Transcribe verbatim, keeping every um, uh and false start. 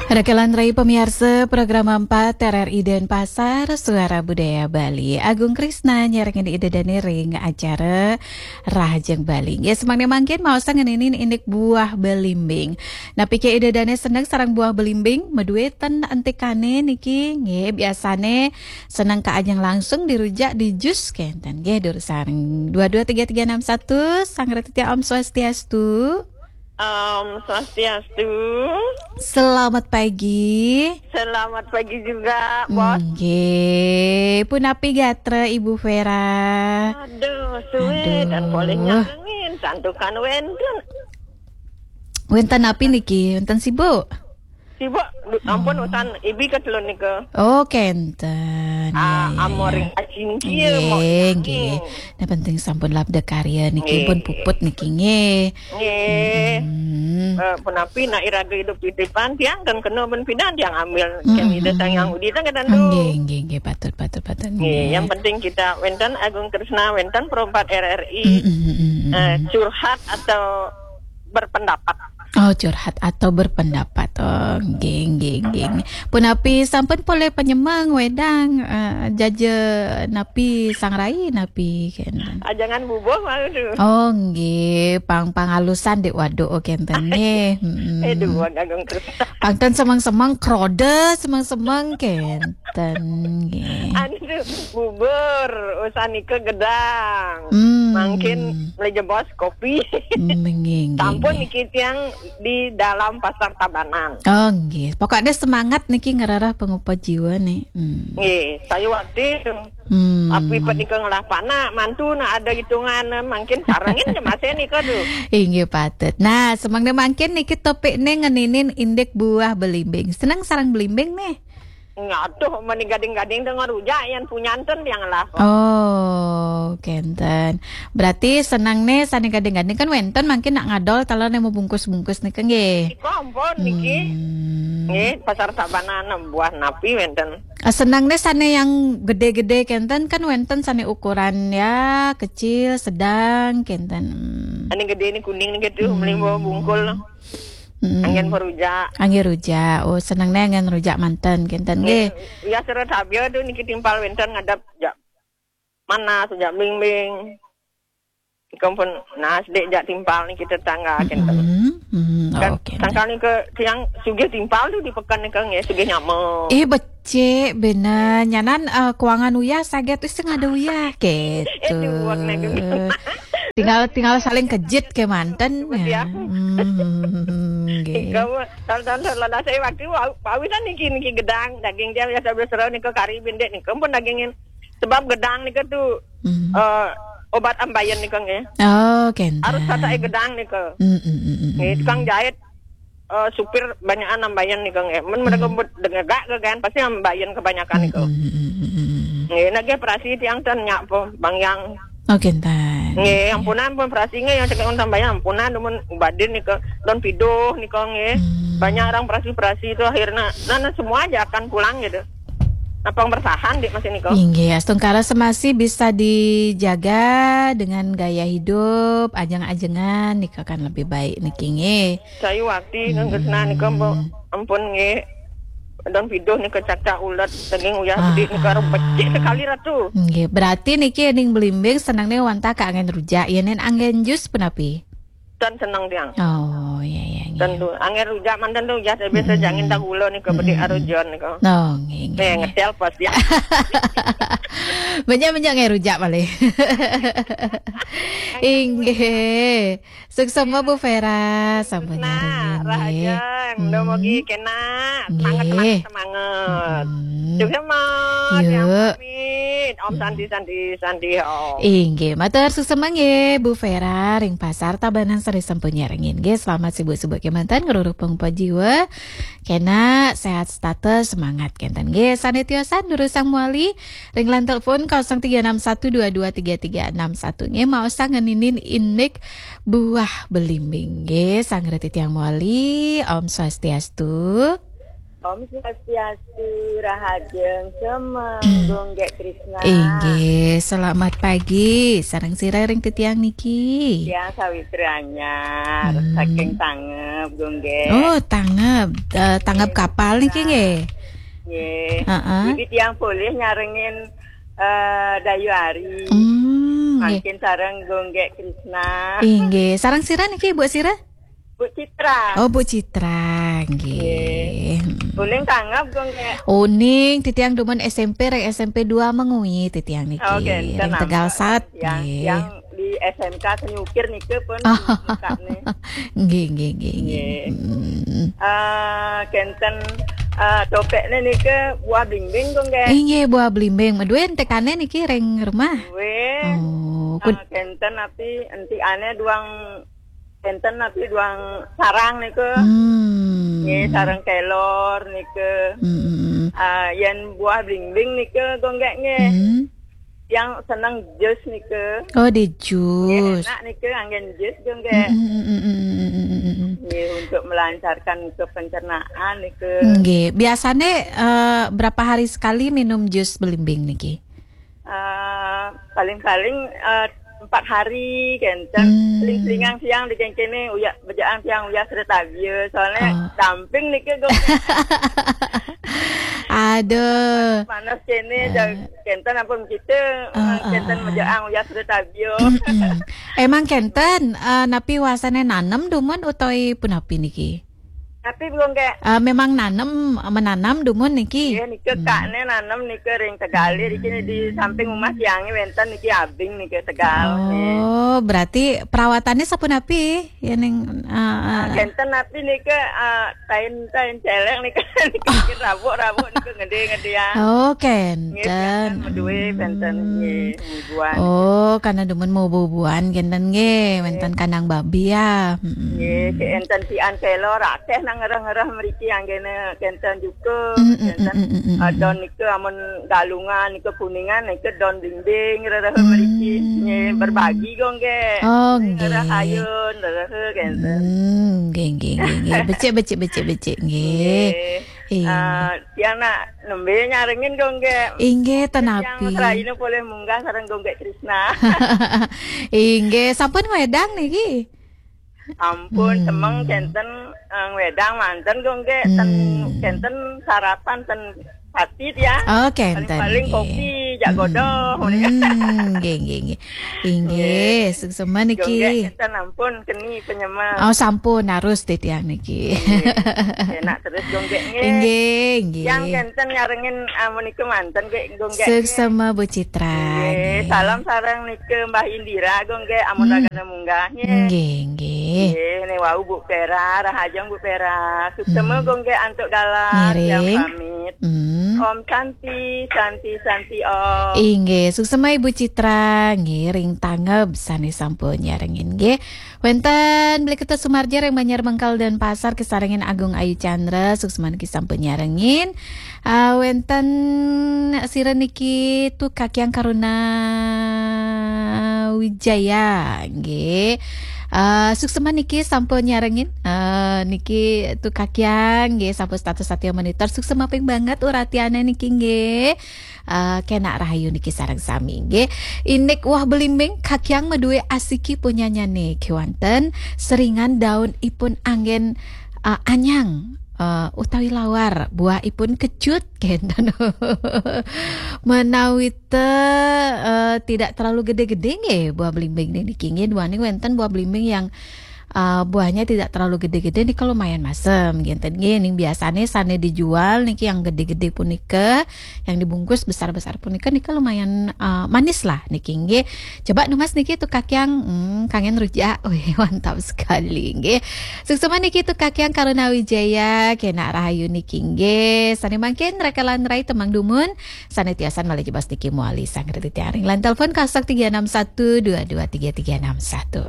Rekelan rai pamiarsa program empat R R I Denpasar, Suara Budaya Bali. Agung Krisna nyarengin ida dane ring acara Rahajeng Bali. Nggih, semangke mangkin maosang ngeninin indik buah belimbing. Napi ke ida dane seneng sareng buah belimbing? Madueten entikane niki, nggih, biasane seneng kaajeng langsung dirujak di jus kenten. Nggih, durus sareng dua dua tiga tiga enam satu, Sang Ratu Tia, Om Swastiastu. Om Swastiastu. Selamat pagi. Selamat pagi juga, Bos. Nggih, punapi gatra Ibu Vera? Aduh, suwe dan Aduh. Boleh nyarengin, santukan wenten. Wenten napi niki? Wenten sibuk? Sibuk, ampun, Oh. Usan ibi ke telun nika. Oh, kenten. Ah, Ya, ya, amoring ya. Acin kia, Nggih, mau nggih. Nah, penting sampun labda karya niki Nggih. Pun puput niki nggih. Nggih. Mm-mm. Eh, punapi nak iraga hidup titipan, tiang kan kena ben pidan tiang ambil. Ken Mm-mm, ida sang mm-mm. Yang udi tang kena tu. Nggih, nggih, nggih, patut, patut, patut. Nggih, Nggih. Yang penting kita wenten Agung Krisna, wenten Pro empat R R I. Mm-mm, mm-mm, Eh, mm-mm. Curhat atau berpendapat. Oh, curhat atau berpendapat. Oh, nggih, nggih, nggih. Punapi sampun polih panyemeng wedang, eh, jaja napi sangrai napi kenten. Ah, jangan bubuh malu tu. Oh, nggih, pang pangalusan dik waduk oh kenten nggih. Mm-mm. Eh, dua gagang terus. Pangten semeng-semeng krode, semeng-semeng kenten nggih. Anu bubur, usan nika gedang. Hmm. Mangkin meja bos kopi. Nggih, nggih, Sampun nggih. Niki tiang di dalam Pasar Tabanan. Oh, nggih. Pokoknya semangat niki ngerarah pengupa jiwa nih. Hmm. Nggih, saya waktu itu. Hmm. Api pet nika ngelah panak, mantu nak ada hitungan, mangkin sarengin je masih nika tu. Inggih patut. Nah, semangnya mangkin niki topik nih ngeninin indik buah belimbing. Seneng sareng belimbing nih? Ngaduh, meni gading-gading dengan rujak yang punyanten yang lah. Oh, kenten. Berarti senang nih sane gading-gading kan wenten mangkin nak ngadol taler nih mau bungkus-bungkus nih kan nggih. Iko ampun niki. Hmm. Nggih, Pasar Tabanan buah napi wenten. Ah, senang nih sane yang gede-gede kenten kan wenten sane ukuran ya kecil, sedang kenten. Hmm. Ane gede nih kuning nih gitu, Hmm. Melimbo bungkul. Mm-mm. Anggen merujak. Anggen rujak. Oh, seneng nih anggen rujak manten kenten nggih. Ya seret habia tu niki timpal wenten ngadap jak manas, jak bimbing. Ikam pun nas dek jak timpal niki tetangga kenten. Mm-mm. Mm-mm. Kan oke. Sangkal nika tiang sugih timpal tu di pekan nika nggih, sugih nyama. Eh, becik bener. Nyanan, eh, kuangan uyah saget wis sing ada uyah gitu. Eh, duwek nih, gitu. Tinggal, tinggal saling kejit ke manten. Betul ya. Hmm, nggih. Kamu tahun-tahun lalu saya waktu bau-, bausan niki, niki gedang, daging dia biasa-biasa nika kari bindek nika pun dagingin. Sebab gedang nika tu, Hmm. eh, obat ambayan nika nggih. Oh, kenten. Harus satai gedang nika. Hmm, hmm, hmm, hmm, Nggih, hmm. Tukang jahit, eh, supir banyakan ambayan nika nggih. Men mereka Hmm. bet dengegak ke kan, pasti ambayan kebanyakan nika. Hmm, hmm, hmm, hmm, hmm, hmm. Nggih, nagih perasi tiang ten nyak po, Bang Yang. Oh, kenten. Nggih, ampunan pun perasi nggih yang cekek sambayan ampunan, dumun ubadin nika, don piduh nika nggih. Hmm. Banyak orang perasi-perasi itu akhirnya, nah, nah, semua aja akan pulang gitu. Napang bertahan di masih nika. Inggih, astungkara semasi bisa dijaga dengan gaya hidup, ajeng-ajengan nika kan lebih baik niki nggih. Sayu wakti kan Krisna nika, Mbok. Hmm. Ampun nggih. Don piduh nika cacak ulet, daging uyah Ah, gede nika, ah. Becik sekali ratu. Nggih, berarti niki ning belimbing seneng nih wantah ka angin rujak, ya nen angin jus punapi? Dan seneng tiang. Oh, iya, iya, iya. Tentu. Angin rujak mantan tu uyah, tapi Hmm. sejangin tak gula nika, Hmm. Bedik arujon nika. Oh, nggih, nggih, Nih, nggih. Ngetel pas ya. Banyak-banyak angin rujak paling. Inggih. Suksema Bu Vera, sampun Nah, nyarengin, nggih. Rahajeng, Hmm. Mugi kena semangat, Nggih. Semangat, semangat. Hmm. Suksema, Yuk. Tiang pamit. Om Hmm. Santi, Santi, Santi, Om. Inggih, matur suksema nggih, Bu Vera, ring Pasar Tabanan sari sampun nyarengin. Nggih, selamat sibuk-sibuk kemanten, ngeruruh pengpa jiwa. Kena sehat setata, semangat kenten. Nggih, sane tiosan durusang muali, ring line telepon kosong tiga enam satu dua dua tiga tiga enam satu. Nggih, maosang ngeninin indik buah belimbing. Nggih, sang reti tiang muali, Om Swastiastu. Om Swastiastu, rahajeng semeng, Gung Gek Krisna. Inggih, selamat pagi. Sareng sira ring titiang niki? Tiang Sawitri Anyar, Hmm. saking Tangeb, Gung Gek. Oh, Tangeb. Eh, Tangeb Nggih, kapal niki Krisna. Nggih? Nggih. Heeh. Jadi tiang polih nyarengin, eh, Dayu Ari. Hmm, nggih. Mangkin sareng Gung Gek Krisna. Inggih. Sareng sira niki, Bu sira? Bu Citra. Oh, Bu Citra, nggih. Nggih. Uning Tangeb, Gung Gek? Uning, titiang dumun S M P, ring S M P dua Mengwi, titiang niki. Oh, kenten, ring Tegal Sat, yang, nggih. Yang di S M K Senyukir niki pun Oh. Buka nih. Nggih, nggih, nggih, nggih. Nggih. Hmm. Eh, kenten, eh, topekne niki buah blimbing, Gung Gek? Inggih, buah blimbing. Medue entekane niki ring rumah? Weh. Oh, eh, kenten napi entikane duang Kenten napi duang sarang niku. Hmm. Nggih, sareng kelor niku. Hmm, hmm, hmm. Ah, yen buah blimbing niku, Gung Gek, nggih. Hmm. Yang seneng jus niku. Oh, di jus. Nggih, enak niku anggen jus, Gung Gek. Hmm, hmm, hmm, hmm, hmm, hmm, hmm, hmm. Nggih, untuk melancarkan ke pencernaan niku. Nggih, biasane, eh, berapa hari sekali minum jus blimbing niki? Eh, paling-paling, eh, empat hari kenten. Hmm. Seling-selingan siang di kene, uya bejaan siang uya sereta bieu. Soalnya Oh. Damping niki, Gung. Aduh. Panas kene, Eh. Kenten ampun kita, eh, Ah, ah, kenten ah, ah. Bejaan uya sereta bieu. Mm-mm. Emang kenten, eh, napi wasane nanem dumun utawi punapi niki? Tapi, Gung Gek. Eh, memang nanem, menanam dumun niki? Nggih, nika Hmm. kakne nanem nika ring Tegal, Hmm. niki di samping rumah tiange wenten niki abing nika Tegal, nggih. Oh, berarti perawatannya sapunapi? Ya, ning, eh, eh. Ah, kenten napi nika, eh, tain-tain celek nika, nika Oh. Rabuk-rabuk nika ngede-ngede ya. Oh, kenten. Nggih, biasa medue Hmm. kenten, nggih. Bubuhan. Oh, karena demen mau bubuhan kenten nggih, Nggih. Wenten kandang babi ya. Mm-mm. Nggih, kenten tian kelor akeh nang ngereh-ngereh mriki anggene kenten juga, Mm, mm, kenten, mm, mm, mm, mm, adon mm. Nika amun Galungan, nika Kuningan, nika don blimbing rereh mriki. Hmm. Nggih, berbagi kok nggih. Oh, nggih. Ngereh ayun, rereh kenten. Hmm, nggih, nggih, nggih, nggih. Becik, becik, becik, becik, nggih. Nggih. Iya. Ah, tiang nak nembe nyarengin kok nggih. Inggih, tenapi. Tiang seraine boleh munggah sareng Gung Gek Krisna. Inggih, sampun wedang niki? Ampun, Hmm. Semeng kenten, eh, wedang manten kok nggih, ten, Hmm. Kenten sarapan ten pati ya. Oh, kenten, paling-paling nggih. Kopi, jak Hmm. Godong, ngono ya. Hmm, nggih, nggih, nggih. Inggih, nggih. Suksema niki. Gung Gek kenten ampun keni penyemel. Oh, sampun harus titiang niki. Nggih. Enak terus Gung Gek nggih. Inggih, nggih. Yang kenten nyarengin, ah, menika manten nggih, Gung Gek nggih. Suksema Bu Citra, nggih, nggih. Salam sareng nika Mbah Indira, Gung Gek, amun Hmm. ragane munggah nggih. Nggih, nggih. Nggih, ne wau Bu Pera, rahajeng Bu Pera. Suksema Hmm. Gung Gek antuk galah, Ngiring. Tiang pamit. Hmm. Om Santi, Santi, Santi Om. Inggih, suksema Ibu Citra, nggih, ring Tangeb sane sampun nyarengin nggih. Wenten Beli Ketut Sumarja ring Banjar Bengkal Denpasar, kesarengin Agung Ayu Chandra, suksema niki sampun nyarengin. Ah, wenten sira niki Tu Kakyang Karuna Wijaya, nggih. Ah, suksema niki sampun nyarengin. Ah, niki Tu Kakyang, nggih, sampun status satya monitor. Suksema ping banget uratiane niki, nggih. Eh, kenak rahayu niki sareng sami, nggih. Indik woh belimbing kakyang madue asiki punyanyane kewanten, seringan daun ipun anggen, eh, anyang, eh, utawi lawar, buah ipun kecut, kenten. Menawi te, eh, tidak terlalu gede-gede, nggih, buah belimbing niki, nggih, duaning wenten buah belimbing yang eh, buahnya tidak terlalu gede-gede nika lumayan masem, ngenten nggih. Ning biasane sane dijual niki yang gede-gede punika, yang dibungkus besar-besar punika, nika lumayan, eh, manis lah niki nggih. Coba numas niki Tu Kakyang, hmm, kangen rujak. Wih, mantap sekali nggih. Suksema niki Tu Kakyang Karuna Wijaya, kenak rahayu niki nggih. Sane mangkin rakalan rai temang dumun, sane tiosan malih jebos niki mawali sang reti tiaring. Lan telepon kosong tiga enam satu dua dua tiga tiga enam satu.